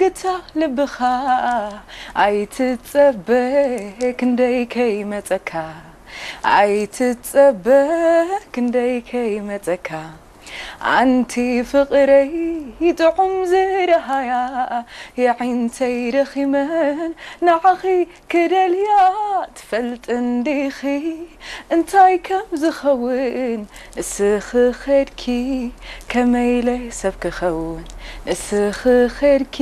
ግታ ልብኻ ኣይትጸበ ክንደይ ከይመጸካ ኣይትጸበ ክንደይ ከይመጸካ ኣንቲ ፍቕረይ ጥዑም ዝረሃያ የዒንተይ ደኺመን ንዓኺ ክደልያ ትፈልጥ እንዲኺ እንታይ ከም ዝኸውን ንስኺ ኸድኪ ከመይለ ሰብ ክኸውን ንስኺ ኸድኪ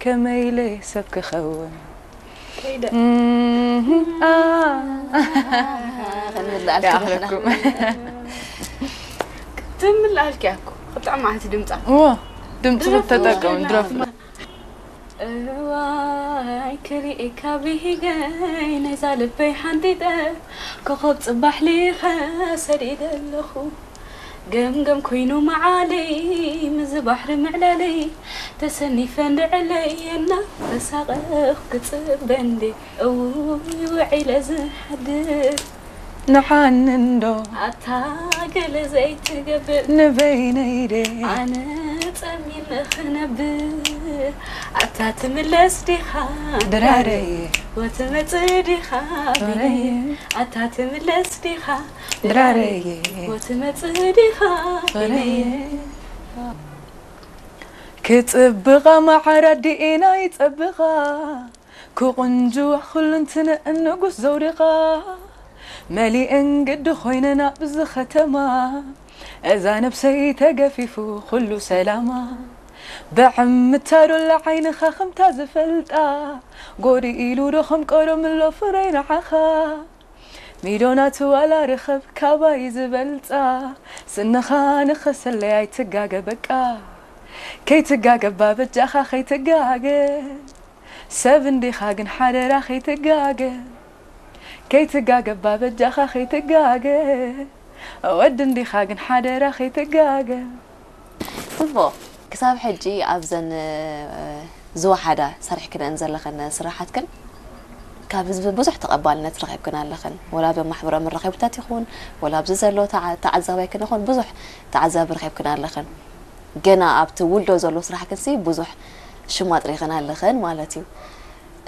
ከመይለ ሰብ ክኸውን ከይደ እህ፣ ኣ፣ ክንምልኣልኪ ይኣኽለኩም ትምልኣልኪ ያኩ ክጥዕም ዓቲ ድምፃ እዎ ድምፂ ተጠቀሙ ድረፍ እዋይ ክሪኤካ ብሂገይ ነዛ ልበይ ሓንጢጠ ኮኸብ ፅባሕ ሊኸ ሰዲደ ኣለኹ ገምገም ኮይኑ መዓለይ ምዚ ባሕሪ ምዕላለይ ተሰኒፈ እንድዕለይ እና ተሳቐፍ ክፅበ እንዴ እውይ ውዒለ ዝሓድር ንዓኒ እንዶ ኣታ ገለ ዘይትገብር ንበይነይ ደ ኣነ ጸሚመ ክነብር ኣታ ትምለስ ዲኻ ድራረየ ወትመጽእ ዲኻ በይነየ ኣታ ትምለስ ዲኻ ድራረየ ወትመጽእ ዲኻ በይነየ ክጽብቓ ማዓራ ዲኤና ይጸብቓ ክቕንጅዋ ኩልንትንእን ንጉስ ዘውድቓ መሊእን ግዲ ኮይነን ኣብዚ ኸተማ እዛ ነብሰይ ተገፊፉ ኩሉ ሰላማ ብዕምታዶላ ዓይንኻ ከምታ ዝፈልጣ ጎዲ ኢሉ ዶ ከም ቀደምሎ ፍረይ ንዓኻ ሚዶናት ዋላ ርኸብ ካባይ ዝበልጻ ስንኻ ንኸሰለይ ኣይትጋገ በቃ ከይትጋገባ በጃኻ ከይትጋገ ሰብ እንዲኻ ግን ሓደራ ከይትጋገ ከይትጋገባ በጃኻ ከይትጋገ ወዲ እንዲኻ ግን ሓደራ ከይትጋገ ጽቡቕ ክሳብ ሕጂ ኣብዘን ዝወሓዳ ሰሪሕክነን ዘለኸን ስራሓትክን ካብ ህዝቢ ብዙሕ ተቐባልነት ረኺብክን ኣለኽን ወላ ኣብ ማሕበራዊ መራኸብታት ይኹን ወላ ኣብዚ ዘሎ ተዓ- ተዓዛባይ ክን ይኹን ብዙሕ ተዓዛቢ ረኺብክን ኣለኽን ገና ኣብቲ ውልዶ ዘሎ ስራሕክን ሲ ብዙሕ ሽም ኣጥሪኽን ኣለኽን ማለት እዩ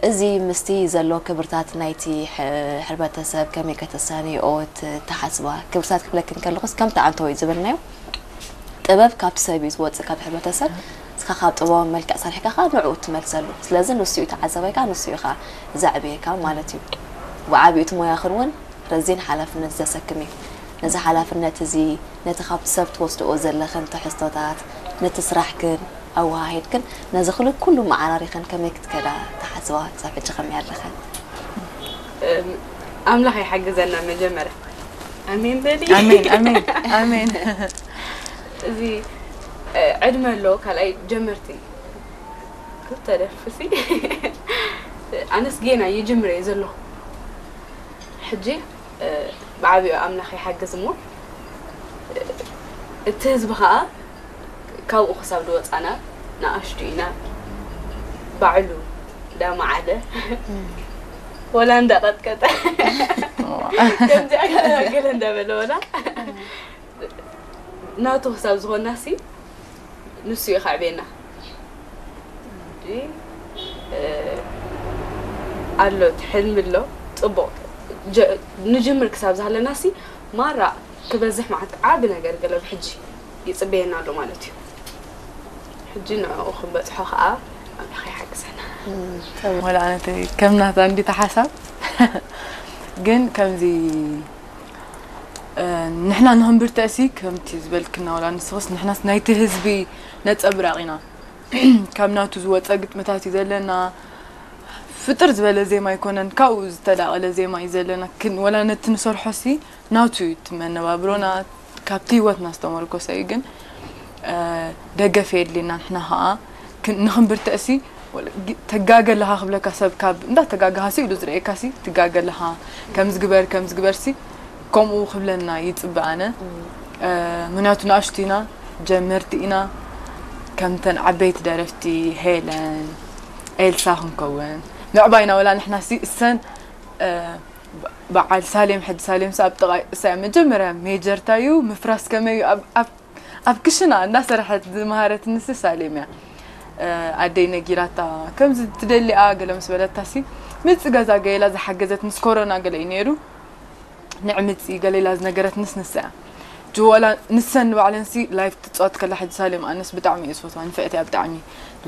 እዚ ምስቲ ዘሎ ክብርታት ናይቲ ሕ- ሕብረተሰብ ከመይ ከተሳንይኦ ት- ትሓስባ ክብርታት ክብለክን ከለኹስ ከምቲ ኣንተወይ ዝብልናዮ ጥበብ ካብቲ ሰብ እዩ ዝወፅእ ካብ ሕብረተሰብ እስኻ ካብ ጥበባዊ መልክዕ ሰሪሕካ ከዓ ንዕኡ ትመልሰሉ ስለዚ ንሱ እዩ ተዓዛባይካ ንሱ እዩ ከዓ ዘዕብየካ ማለት እዩ ብዓብዩ እቲ ሞያኽን እውን ረዚን ሓላፍነት ዘሰክም እዩ ነዚ ሓላፍነት እዚ ነቲ ካብቲ ሰብ ትወስድኦ ዘለኽን ትሕዝቶታት ነቲ ስራሕክን ኣወሃሂድክን ነዚ ክሉ ኩሉ መዓራሪኽን ከመይ ክትከዳ ትሓስባ ክሳብ ሕጂ ከመይ ኣለኽን ኣምላኽ ይሓግዘና መጀመርያ ኣሜን በሊ ኣሜን ኣሜን ኣሜን እዚ ዕድመ ኣሎ ካልኣይ ጀመርቲ ክልተ ደርፍሲ ኣነስ ጌና ይጅምረ እየ ዘለኹ ሕጂ ብዓብኡ ኣምላኽ ይሓግዝ እሞ እቲ ህዝቢ ከዓ ካብኡ ክሳብ ዝወፃና ንኣሽቱ ኢና ባዕሉ እንዳመዓለ ወላ እንዳቐጥቀጠ ከምዚኣ ገለ እንዳበለ ወላ ናቱ ክሳብ ዝኾንና ሲ ንሱ እዩ ከዕብየና ኣሎ እቲ ሕልሚ ኣሎ ፅቡቕ ንጅምር ክሳብ ዝሃለና ሲ ማራ ክበዝሕ ማለት ዓቢ ነገር ገለ ብሕጂ ይፅበየና ኣሎ ማለት እዩ ሕጂ ንዕኡ ክንበፅሖ ከዓ ኣምላኽ ይሓግዘና ወላ ኣነተ ከም ናታ እንዲታ ሓሳብ ግን ከምዚ ንሕና ንክንብርተእሲ ከምቲ ዝበልክና ወላ ንስኽስ ንሕናስ ናይቲ ህዝቢ ነፀብራቕ ኢና ካብ ናቱ ዝወፀ ግጥምታት እዩ ዘለና ፍጥር ዝበለ ዜማ ኣይኮነን ካብኡ ዝተዳቐለ ዜማ እዩ ዘለና ወላ ነቲ ንሰርሖሲ ናቱ እዩ እቲ መነባብሮና ካብቲ ህይወትና ዝተመርኮሰ እዩ ግን ደገፍ የድልየና ንሕና ከዓ ንክንብርተእሲ ተጋገ ኣለኻ ክብለካ ሰብ ካብ እንዳተጋገኻ ሲ ኢሉ ዝርእየካ ሲ ትጋገ ኣለኻ ከምዚ ግበር ከምዚ ግበር ሲ ከምኡ ክብለና ይፅበ ኣነ ምክንያቱ ንኣሽቱ ኢና ጀመርቲ ኢና ከምተን ዓበይቲ ደረፍቲ ሄለን ኤልሳ ክንከውን ምዕባይና ወላ ንሕና ሲ እሰን በዓል ሳሌም ሕጂ ሳሌም ሲ ኣብ ጥቓ እሳ መጀመርያ ሜጀርታ እዩ ምፍራስ ከመይ እዩ ኣብ ክሽና እንዳሰርሐት ዝመሃረትኒ ሲ ሳሌም እያ ኣደይ ነጊራታ ከምዚ ትደሊኣ ገለ ምስ በለታ ሲ ምጽ ገዛ ገይላ ዝሓገዘት ምስ ኮሮና ገለ እዩ ነይሩ። ንዕምጺ ገለ ኢላ ዝነገረትንስ ንሳ እያ። ጅወላ ንሰን ንባዕለን ሲ ላይፍ ትጻወት ከላ ሕጂ ሳሌም ኣነስ ብጣዕሚ እየ ዝፈትዋ። ንፍዕቲ እያ ብጣዕሚ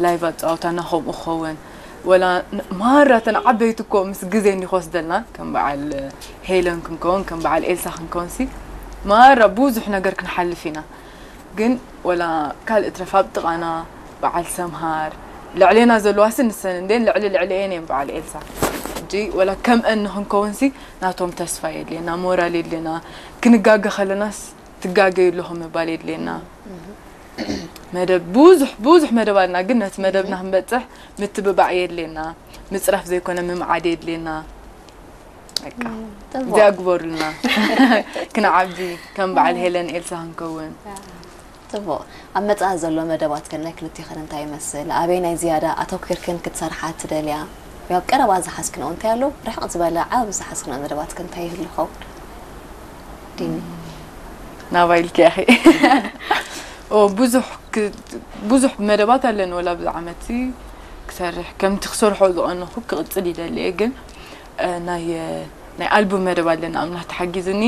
ላይቭ ኣጻወታና ከምኡ ክኸውን። ወላ ን- ማራ እተን ዓበይቲ እኮ ምስ ግዜ እንዲ ክወስደልና ከም በዓል ሄለን ክንከውን ከም በዓል ኤልሳ ክንከውን ሲ ማራ ብዙሕ ነገር ክንሓልፍ ኢና። ግን ወላ ካልእ ትረፍ ኣብ ጥቓና በዓል ሰምሃር ልዕሌና ዘለዋ ሲ ንሰን እንዴን ልዕሊ ልዕሊ እየን እየን በዓል ኤልሳ። ሕጂ ወላ ከምአን ንክንከውን ሲ ናቶም ተስፋ የድልየና፣ ሞራል የድልየና። ክንጋገ ከለናስ ትጋገዩ ኣለኹም ምባል የድልየና። መደብ ብዙሕ ብዙሕ መደብ ኣለና፣ ግን ነቲ መደብና ክንበጽሕ ምትብባዕ የድልየና። ምጽራፍ ዘይኮነ ምምዓድ የድልየና። በቃ ጽቡቕ። እዚኣ ግበሩልና። ክንዓቢ ከም በዓል ሄለን ኤልሳ ክንከውን። ጽቡቕ። ኣብ መጻኢ ዘሎ መደባትክን ናይ ክልቲኽን እንታይ ይመስል? ኣበይ ናይ ዝያዳ ኣተኲርክን ክትሰርሓ ትደልያ? ወይ ኣብ ቀረባ ዝሓዝክንኦ እንታይ ኣሎ? ርሕቕ ዝበለ ዓብ ዝሓዝክንኦ መደባትክን እንታይ ይህሉ ይኸውን? ዲኒ። ናባይ ኢልኪ ኢኺ። ኦ ብዙሕ ክ- ብዙሕ መደባት ኣለኒ ወላ ብዛ ዓመት ሲ ክሰርሕ ከምቲ ክሰርሖ ዝቐነኹ ክቕጽል ይደሊ እየ፣ ግን እ፣ ናይ ናይ ኣልቡም መደብ ኣለና ኣምላኽ ተሓጊዝኒ።